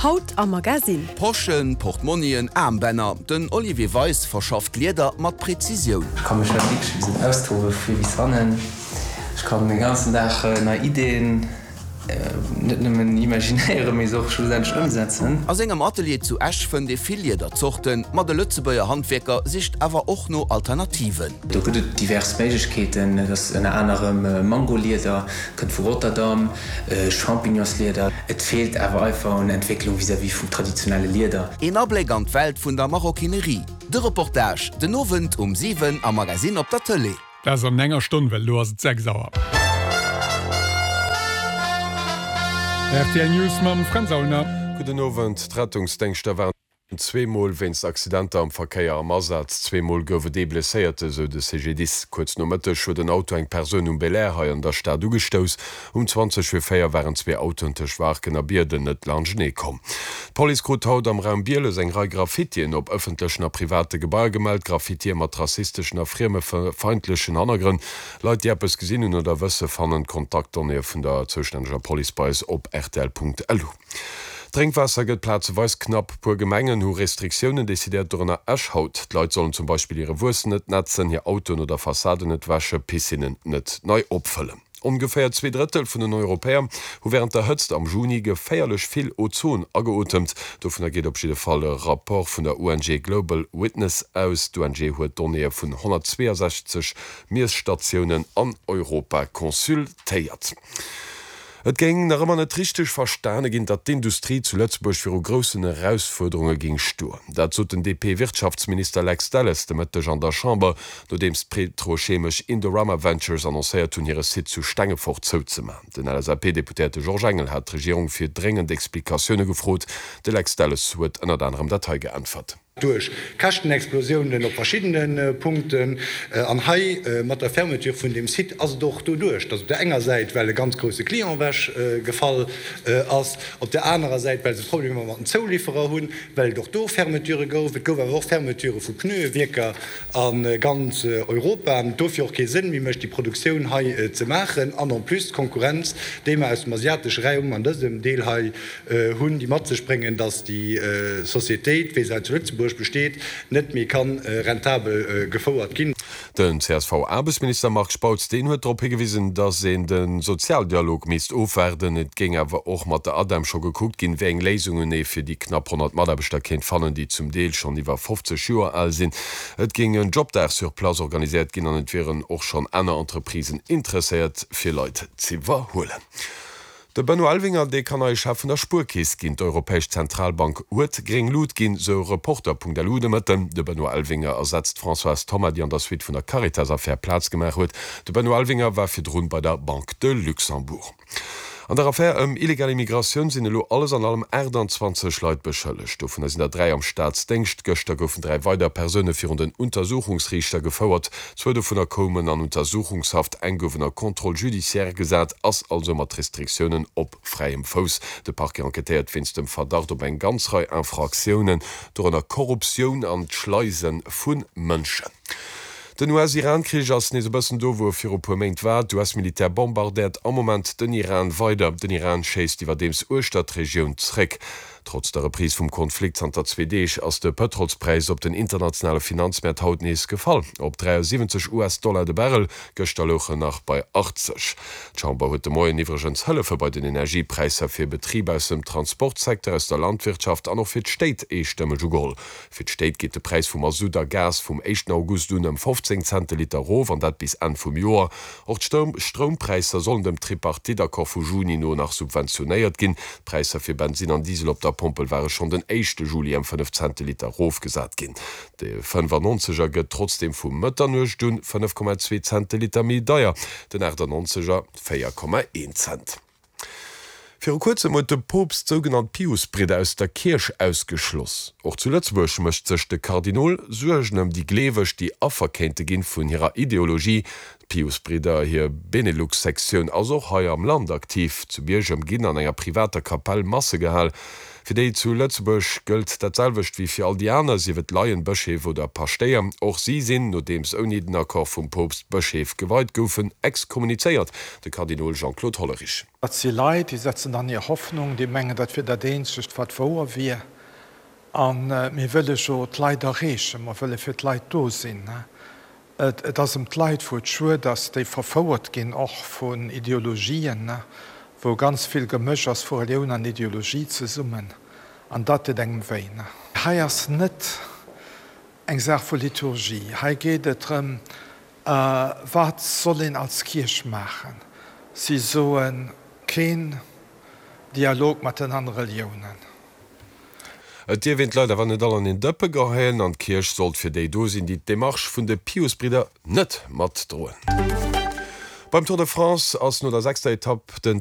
Haut am Magasinn. Poschen, Portmonnien, Aarmbänner, den Olivier Weis verschafft Lieder mat Präzisioun. Ech ka mech halt wierklech e bëssen austobe vu vir bis hannen. Ech kann de ganzen Dag nei Ideen net nëmmen imaginéieren, mee se och schlussendlech ëmsetzen. A sengem Atelier zu Esch fënnt ee vill Liederzorten, ma de Lëtzebuerger Handwierker sicht awer och no Alternativen. Do gëtt et divers Méiglechkeeten. Et ass ënner anerem Mangolieder, kënnt vu Rotterdam, Champignonslieder. Et feelt awer einfach un Entwécklung vis-à-vis vum traditionelle Lieder. Een Abléck an d'Welt vun der Maroquinerie. De Reportage den Owend um 7 am Magasinn op der Tëlee. Dat ass an enger Stonn, well elo ass et 6 Auer. Rtl News mam Fränz Aulner. Gudden Owend. D'Rettungsdéngschter waren zweemol wéinst Accidenter am Verkéier am Asaz. Zweemol gouf et ee Blesséierte, sou de CGDIS. Kuerz no Mëtteg huet en Auto eng Persoun um Belair hei an der Stad ugestouss. Um 20 vir 4 waren zwee Autoen tëscht Waarken a Bierden net laanschtenee komm. D'Police krut haut am Raum Bieles eng Rei Graffitien op ëffentlechen a private Gebaier gemellt. Graffitie mat rassisteschen a friemefeindlechen Hannergrënn. Leit, déi eppes gesinn hunn oder wësse fannen d'Kontaktdonnéeë vun der zoustänneger Police bei eis op rtl.lu. D'Drénkwaasser gëtt plazeweis knapp. Puer Gemengen hu Restriktiounen decidéiert, dorënner Esch haut. D'Leit sollen zum Beispill hire Wuess net nätzen, hir Autoen oder Fassaden net wäsche, Piscinnen net nei opfëllen. Ongeféier 2/3 vun den Europäer hu wärend der Hëtzt am Juni geféierlech vill Ozon ageotemt. Dovunner geet op jidde Fall e Rapport vun der ONG Global Witness aus. D'ONG huet Donnéeë vun 162 Miesstatiounen an Europa consultéiert. Et géing nach ëmmer net richteg verstane ginn, datt d'Industrie zu Lëtzebuerg viru groussen Erausfuerderunge géing stoen. Dat sot den DP-Wirtschaftsminister Lex Delles de Mëtteg an der Chamber, nodeems d'petrochemesch Indorama Ventures annoncéiert hunn, hire Site zu Stengefort zouzemaachen. Den LSAP-Deputéierte Georges Engel hat d'Regierung fir dréngend Explikatioune gefrot. De Lex Delles huet ënnert anerem dat hei geäntwert. Duerch Käschtenexplosiounen op verschiddene Punkten an hei mat der Fermeture vun deem Site ass et och doduerch, datt op där enger Säit, well e ganz grousse Client ewech gefall ass, op där anerer Säit, well se Problemer mat den Zouliwwerer hunn, well et och do Fermeturë gouf. Et gouf awer och Fermeturë vu Pneuewierker a ganz Europa an et dofir och kee Sënn méi mécht, déi Produktioun hei ze maachen an en plus d'Konkurrenz, déi mer aus dem asiatesche Raum an dësem Deel hei hunn, déi mat sech bréngen, datt déi Sociétéit, wéi se hei zu Lëtzebuerg besteet, net méi ka rentabel gefouert ginn. Den CSV-Aarbechtsminister Marc Spautz, deen huet drop higewisen, datt een de Sozialdialog misst ofwaarden. Et géing awer och mat der ADEM scho gekuckt ginn, wéi eng Léisungen ee fir déi knapp 100 Mataarbechter kéint fannen, déi zum Deel schonn iwwer 50 Joer al sinn. Et géing en Jobdag sur place organiséiert ginn an et wieren och schonn aner Entreprisen interesséiert, fir Leit z'iwwerhuelen. De Benoît Elvinger, dee kann neie Chef vun der Spuerkeess ginn. D'Europäesch Zentralbank huet gréng Lut ginn, sou Reporter.lu de Mëtten. De Benoît Elvinger ersetzt d'Françoise Thoma, déi an der Suite vun der Caritas-Affär Plaz gemaach huet. De Benoît Elvinger war virdrun bei der Banque de Luxembourg. An der Affär ëm illegal Immigratioun sinn elo alles an allem 28 Leit beschëllegt. Dovunner sinn der 3 am Staatsdéngscht. Gëschter goufen 3 weider Persoune virun den Untersuchungsriichter gefouert. Zwou dovunner koumen an Untersuchungshaft, eng gouf ënner Contrôle judiciaire gesat, ass also mat Restriktiounen op fräiem Fouss. De Parquet enquêtéiert wéinst dem Verdacht op eng ganz Rei Infraktiounen, dorënner Korruptioun an d'Schleise vu Mënschen. Den US-Iran-Krich ass nees e bëssen do, wou e viru puer Méint war. D'US-Militär bombardéiert am Moment den Iran weider. Den Iran schéisst iwwerdeems uechter d'Regioun zréck. Trotz der Reprise vum Konflikt zanter zwee Deeg ass de Pëtrolspräis op den internationale Finanzmäert haut nees gefall, op 73 US-Dollar de Barrel. Gëschter louch en nach bei 80. D'Chamber huet de Moien iwwregens Hëllefe bei den Energiepräisser fir Betriber aus dem Transportsecteur, aus der Landwirtschaft an och fir d'Stéit eestëmmeg ugeholl. Fir d'Stéit geet de Präis vu Masutt a Gas vum éischten August un ëm 15 Cent de Liter erof, an dat bis Enn vum Joer. Och d'Stroumpräisser sollen dem Tripartite-Accord vu Juni no nach subventionéiert ginn. D'Präisser fir Bensinn an Diesel op der Pompel ware schonn den éischte Juli ëm 5 Cent de Liter erofgesat ginn. De 95 er gëtt trotzdeem vu Mëtternuecht un 5,2 Cent de Liter méi deier, den 98 er 4,1 Cent. Viru kuerzem huet de Poopst d'sougenannt Piusbridder aus der Kierch ausgeschloss. Och zu Lëtzebuerg mécht sech de Kardinol Suergen ëm déi Gleeweg, déi Affer kéinte ginn vun hirer Ideologie. D'Piusbridder, hir Benelux-Sektioun ass och hei am Land aktiv. Zu Biergem ginn an enger privater Kapell Masse gehal. Fir déi zu Lëtzebuerg gëllt dat selwecht wéi fir all déi aner, sief et Laien, Bëscheef oder Paschtéier. Och si sinn, nodeems ouni den Accord vum Poopst Bëscheef geweit goufen, exkommunizéiert. De Kardinol Jean-Claude Hollerich. Dat si Leit, déi setzen dann hir Hoffnung, déi mengen, dat wier dat eenzegt, wat wouer wier. A mir wëlle jo d'Leit erreechen, mer wëlle fir d'Leit do sinn. Et ass ëm d'Leit, wou et schued ass, déi verfouert ginn, och vun Ideologien, wou ganz vill Gemësch ass vu Relioun an Ideologie zesummen. An dat deet engem wéi. Hei ass net eng Saach vu Liturgie. Hei geet et drëm, Wat soll een als Kierch maachen? Si soen, keen Dialog mat den anere Reliounen. Et dierf een d'Leit awer net all an een Dëppe geheien an d'Kierch sollt fir déi do sinn, déi d'Demarche vun de Piusbridder net matdroen. Beim Tour de France ass no der sechster Etapp den.